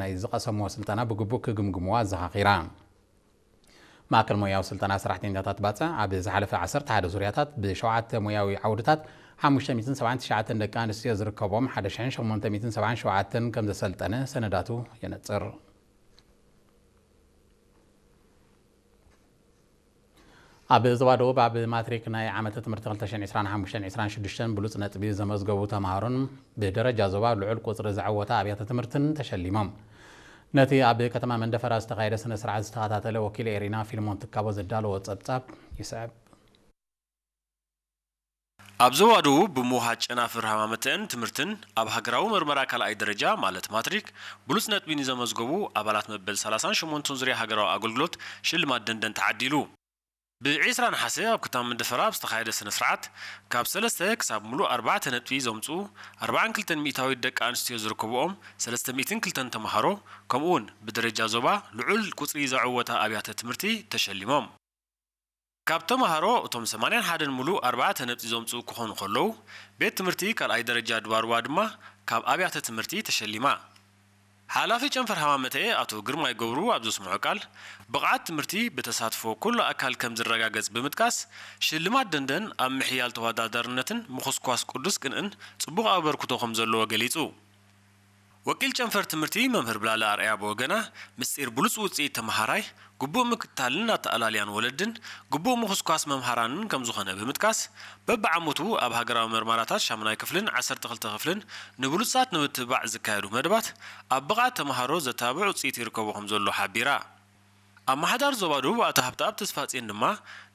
ናይ ዝቐሰምዎ ስልጠና ብግቡእ ክግምግምዎ ኣዘኻኺራ። ማእከል ሞያዊ ስልጠና ሰራሕተኛታት ባጽዕ ኣብ ዝሓለፈ ዓሰርተ ሓደ ዙርያታት ብሸውዓተ ሞያዊ ዓውድታት ሓሙሽተ ሚእትን ሰብዓን ትሽዓተን ደቂ ኣንስትዮ ዝርከቦም ሓደ ሽሕን ሸሞንተ ሚእትን ሰብዓን ሸውዓተን ከም ዘሰልጠነ ሰነዳቱ የነጽር። ኣብ ዞባ ደቡብ ኣብ ማትሪክ ናይ ዓመተ ትምህርቲ ክልተ ሽሕን ዕስራን ሓሙሽተን ዕስራን ሽዱሽተን ብሉጽ ነጥቢ ዘመዝገቡ ተምሃሮን ብደረጃ ዞባ ልዑል ቁጽሪ ዘዐወታ ኣብያተ ትምህርትን ተሸሊሞም። ነቲ ኣብ ከተማ መንደፈራ ዝተኻየደ ስነ ስርዓት ዝተኸታተለ ወኪል ኤሪና ፊልሞን ትካቦ ዘዳለዎ ጸብጻብ ይስዕብ። ኣብ ዞባ ደቡብ ብምውሃድ ጨናፍር ሃማመተን ትምህርትን ኣብ ሃገራዊ መርመራ ካልኣይ ደረጃ ማለት ማትሪክ ብሉጽ ነጥቢ ንዘመዝገቡ ኣባላት መበል ሰላሳን ሸሞንተን ዙርያ ሃገራዊ ኣገልግሎት ሽልማት ደንደን ተዓዲሉ። ብዒስራ ነሓሰ ኣብ ከተማ መንደፈራ ኣብ ዝተኻየደ ስነ ስርዓት ካብ ሰለስተ ክሳብ ሙሉእ ኣርባዕተ ነጥቢ ዘምጽኡ ኣርባዓን ክልተን ሚእታዊት ደቂ ኣንስትዮ ዝርከብኦም ሰለስተ ሚእትን ክልተን ተምሃሮ ከምኡውን ብደረጃ ዞባ ልዑል ቁጽሪ ዘዐወታ ኣብያተ ትምህርቲ ተሸሊሞም። ካብ ተምሃሮ እቶም ሰማንያን ሓደን ሙሉእ ኣርባዕተ ነጥቢ ዘምጽኡ ክኾኑ ከለዉ ቤት ትምህርቲ ካልኣይ ደረጃ ድባርዋ ድማ ካብ ኣብያተ ትምህርቲ ተሸሊማ። ሓላፊ ጨንፈር ሃማመተ ኣቶ ግርማይ ገብሩ ኣብ ዘስምዖ ቃል ብቕዓት ትምህርቲ ብተሳትፎ ኩሉ ኣካል ከም ዝረጋገጽ ብምጥቃስ ሽልማት ደንደን ኣብ ምሕያል ተወዳዳርነትን ምኹስኳስ ቅዱስ ቅንእን ጽቡቕ ኣበርክቶ ከም ዘለዎ ገሊጹ። ወኪል ጨንፈር ትምህርቲ መምህር ብላለ ኣርኣያ ብወገና ምስጢር ብሉጽ ውጽኢት ተመሃራይ ግቡእ ምክትታልን ኣተኣላልያን ወለድን ግቡእ ምኹስኳስ መምሃራንን ከም ዝኾነ ብምጥቃስ በብዓመቱ ኣብ ሃገራዊ መርማራታት ሻሙናይ ክፍልን ዓሰርተ ክልተ ክፍልን ንብሉጻት ንምትብባዕ ዝካየዱ መደባት ኣብ ብቕዓት ተምሃሮ ዘተባብዕ ውጽኢት ይርከቦ ከም ዘሎ ሓቢራ። ኣመሓዳሪ ዞባ ደቡብ ኣቶ ሃብተኣብ ተስፋጽዮን ድማ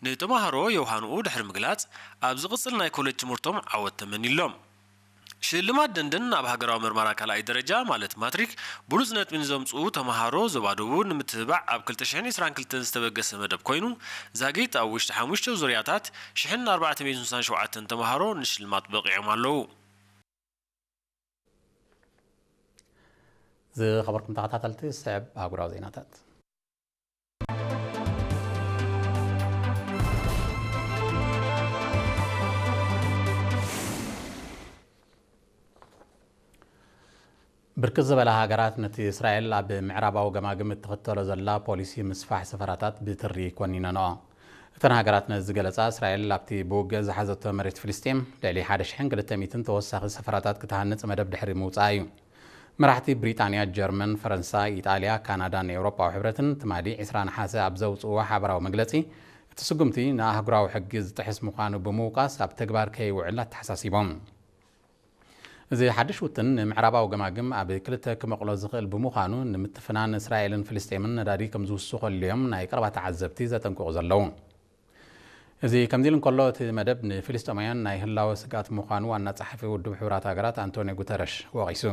ንተምሃሮ የውሃንኡ ድሕሪ ምግላጽ ኣብ ዝቕጽል ናይ ኮሌጅ ትምህርቶም ዓወት ተመኒሎም። ሽልማት ደንደን ኣብ ሃገራዊ መርመራ ካልኣይ ደረጃ ማለት ማትሪክ ብሉጽ ነጥቢ ንዘምጽኡ ተምሃሮ ዞባ ደቡብ ንምትብባዕ ኣብ ክልተ ሽሕን ዕስራን ክልተን ዝተበገሰ መደብ ኮይኑ ዛጊት ኣብ ውሽጢ ሓሙሽተ ዙርያታት ሽሕን ኣርባዕተ ሚእትን ስሳን ሸውዓተን ተምሃሮ ንሽልማት በቒዖም ኣለዉ። ዝኸበርኩም ተኸታተልቲ ሰብ ኣህጉራዊ ዜናታት። ብርክት ዝበላ ሃገራት ነቲ እስራኤል ኣብ ምዕራባዊ ገማግም እትኽተሎ ዘላ ፖሊሲ ምስፋሕ ሰፈራታት ብትሪ ኮኒነንኦ። እተን ሃገራት ነዚ ዝገለጻ እስራኤል ኣብቲ ብውግእ ዝሓዘቶ መሬት ፍልስጤም ልዕሊ ሓደ ሽሕን ክልተ ሚእትን ተወሳኺ ሰፈራታት ክትሃንጽ መደብ ድሕሪ ምውጻኣ እዩ። መራሕቲ ብሪጣንያ፣ ጀርመን፣ ፈረንሳ፣ ኢጣልያ፣ ካናዳን ኤውሮጳዊ ሕብረትን ትማሊ ዕስራ ነሓሰ ኣብ ዘውጽእዎ ሓበራዊ መግለጺ፣ እቲ ስጉምቲ ንኣህጉራዊ ሕጊ ዝጥሕስ ምዃኑ ብምውቃስ ኣብ ተግባር ከይውዕል ኣተሓሳሲቦም። እዚ ሓድሽ ውጥን ንምዕራባዊ ገማግም ኣብ ክልተ ክመቕሎ ዝኽእል ብምዃኑ ንምትፍናን እስራኤልን ፍልስጤምን ነዳዲ ከም ዝውስኸሉ እዮም ናይ ቀረባ ተዓዘብቲ ዘጠንቅቑ ዘለዉ። እዚ ከምዚ ኢሉ እንከሎ እቲ መደብ ንፍልስጤማውያን ናይ ህላወ ስግኣት ምዃኑ ዋና ጸሓፊ ውድብ ሕቡራት ሃገራት ኣንቶኒዮ ጉተረሽ ወቒሱ።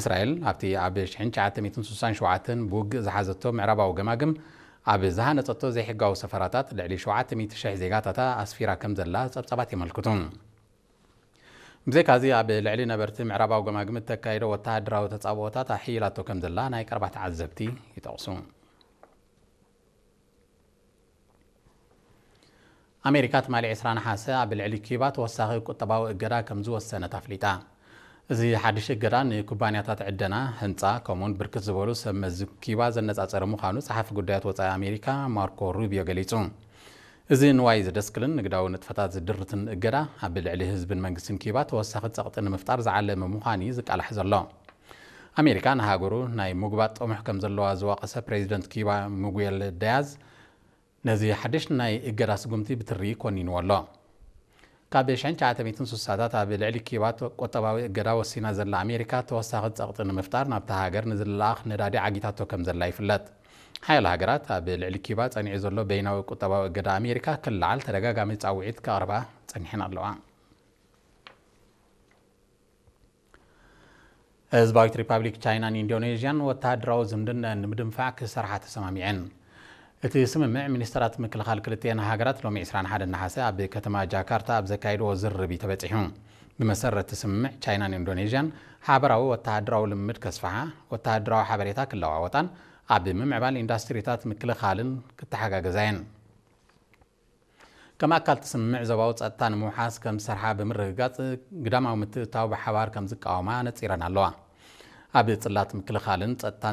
እስራኤል ኣብቲ ኣብ ሽሕን ትሽዓተ ሚእትን ስሳን ሸውዓተን ብውግእ ዝሓዘቶ ምዕራባዊ ገማግም ኣብ ዝሃነጸቶ ዘይሕጋዊ ሰፈራታት ልዕሊ ሸውዓተ ሚእቲ ሽሕ ዜጋታታ ኣስፊራ ከም ዘላ ጸብጻባት የመልክቱ። ብዘይካዚ ኣብ ልዕሊ ነበርቲ ምዕራባዊ ገማግም እተካይዶ ወተሃደራዊ ተጻብኦታት ኣሕይላቶ ከም ዘላ ናይ ቀረባ ተዓዘብቲ ይጠቕሱ። ኣሜሪካ ትማሊ ዕስራ ነሓሰ ኣብ ልዕሊ ኪባ ተወሳኺ ቁጠባዊ እገዳ ከም ዝወሰነት ኣፍሊጣ። እዚ ሓድሽ እገዳ ንኩባንያታት ዕደና፣ ህንጻ፣ ከምኡውን ብርክት ዝበሉ ሰብ መዚ ኪባ ዘነጻጸረ ምዃኑ ጸሓፊ ጉዳያት ወጻኢ ኣሜሪካ ማርኮ ሩቢዮ ገሊጹ። እዚ ንዋይ ዝደስክልን ንግዳዊ ንጥፈታት ዝድርትን እገዳ ኣብ ልዕሊ ህዝብን መንግስትን ኪባ ተወሳኺ ጸቕጢ ንምፍጣር ዝዓለመ ምዃኑ እዩ ዝቃላሕ ዘሎ። ኣሜሪካ ንሃገሩ ናይ ምጉባጥ ጥሙሕ ከም ዘለዋ ዝወቐሰ ፕሬዚደንት ኪባ ሚጉኤል ዳያዝ ነዚ ሓድሽ ናይ እገዳ ስጉምቲ ብትሪ ኮኒንዎ ኣሎ። ካብ ሽሕን ትሽዓተ ሚእትን ስሳታት ኣብ ልዕሊ ኪባ ቁጠባዊ እገዳ ወሲና ዘላ ኣሜሪካ ተወሳኺ ጸቕጢ ንምፍጣር ናብታ ሃገር ንዝለኣኽ ነዳዲ ዓጊታቶ ከም ዘላ ይፍለጥ። ሓያሎ ሃገራት ኣብ ልዕሊ ኪባ ጸኒዑ ዘሎ በይናዊ ቁጠባዊ እገዳ ኣሜሪካ ክለዓል ተደጋጋሚ ጻውዒት ከቕርባ ጸኒሐን ኣለዋ። ህዝባዊት ሪፓብሊክ ቻይናን ኢንዶኔዥያን ወተሃደራዊ ዝምድነአን ንምድንፋዕ ክሰርሓ ተሰማሚዐን። እቲ ስምምዕ ሚኒስተራት ምክልኻል ክልቲኤን ሃገራት ሎሚ ዕስራን ሓደን ነሓሰ ኣብ ከተማ ጃካርታ ኣብ ዘካየድዎ ዝርርብ እዩ ተበጺሑ። ብመሰረት እቲ ስምምዕ ቻይናን ኢንዶኔዥያን ሓበራዊ ወተሃደራዊ ልምምድ ከስፍሓ፣ ወተሃደራዊ ሓበሬታ ክለዋወጣን ኣብ ምምዕባል ኢንዳስትሪታት ምክልኻልን ክተሓጋገዛ እየን። ከም ኣካል እቲ ስምምዕ ዞባዊ ጸጥታ ንምውሓስ ከም ዝሰርሓ ብምርግጋጽ ግዳማዊ ምትእትታው ብሓባር ከም ዝቃወማ ነጺረን ኣለዋ። ኣብ ጽላት ምክልኻልን ጸጥታን